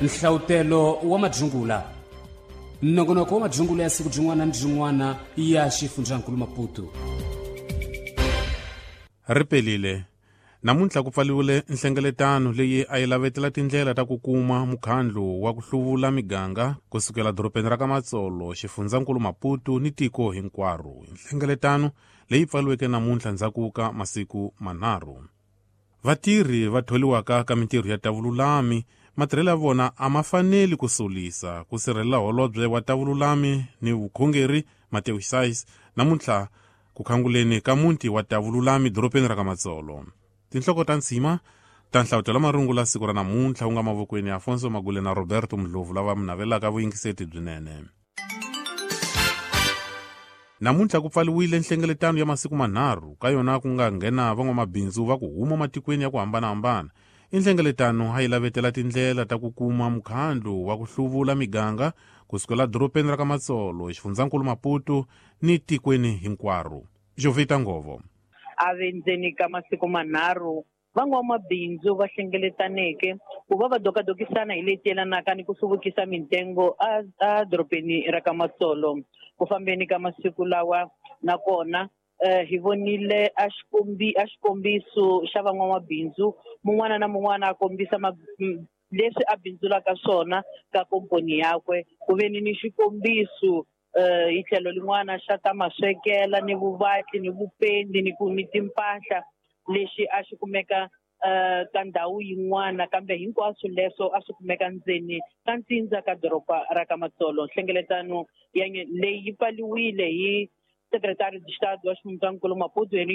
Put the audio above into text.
Nhlavutelo wa madyungula. Nongonoko wa madyungula ya siku byin'wana ni byin'wana ya xifundzankulu Maputo. Ri pelile. Namuntlha ku pfaliwile nhlengeletano leyi a yi lavetela tindlela ta ku kuma mukhandlu wa ku hluvula miganga ku sukela dorobeni ra ka Matsolo, xifundzankulu Maputo ni tiko hinkwaro. Nhlengeletano leyi pfaliweke namuntlha ndzhaku ka masiku manharhu. Vatirhi va tholiwaka ka mintirho ya tavululami matirhelo ya vona a ma faneli ku solisa ku sirhelela holobye wa tavululami ni vukhongeri Mateo Sais namuntlha ku khanguleni ka muti wa tavululami dorobeni ra ka Matsolo. Tinhloko ta nsima ta nhlavutelo marungula siku ra namuntlha wu nga mavokweni ya Afonso Magule na Roberto Mdlovu lava mi navelaka vuyingiseti byinene. Namuntlha ku pfaliwile nhlengeletano ya masiku manharhu ka yona ku nga nghena van'wamabindzu va ku huma matikweni ya ku hambanahambana. I nhlengeletano a yi lavetela tindlela ta ku kuma mukhandlu wa ku hluvula miganga ku sukela dorobeni ra ka Matsolo, xifundzankulu Maputo ni tikweni hinkwaro. Jovita Ngovo. A ve ndzeni ka masiku manharhu van'wamabindzu va hlengeletaneke ku va va dokadokisana hi leti yelanaka ni ku hluvukisa mintengo edorobeni ra ka Matsolo. Ku fambeni ka masiku lawa nakona hi vonile a a xikombiso xa van'wamabindzu mun'wana na mun'wana a kombisa leswi a bindzulaka swona ka komponi yakwe. Ku ve ni ni xikombiso hi tlhelo lin'wana xa ta maswekela ni vuvatli ni vupendi ni ku ni timpahla lexi a xi kumeka ka ndhawu yin'wana kambe hinkwaswo leswo a swi kumeka ndzeni ka ntsindza ka doroba ra ka Matsolo. Nhlengeletano ya leyi yi pfaliwile hi Secretary de Estado wa Xifundzankulu Maputo.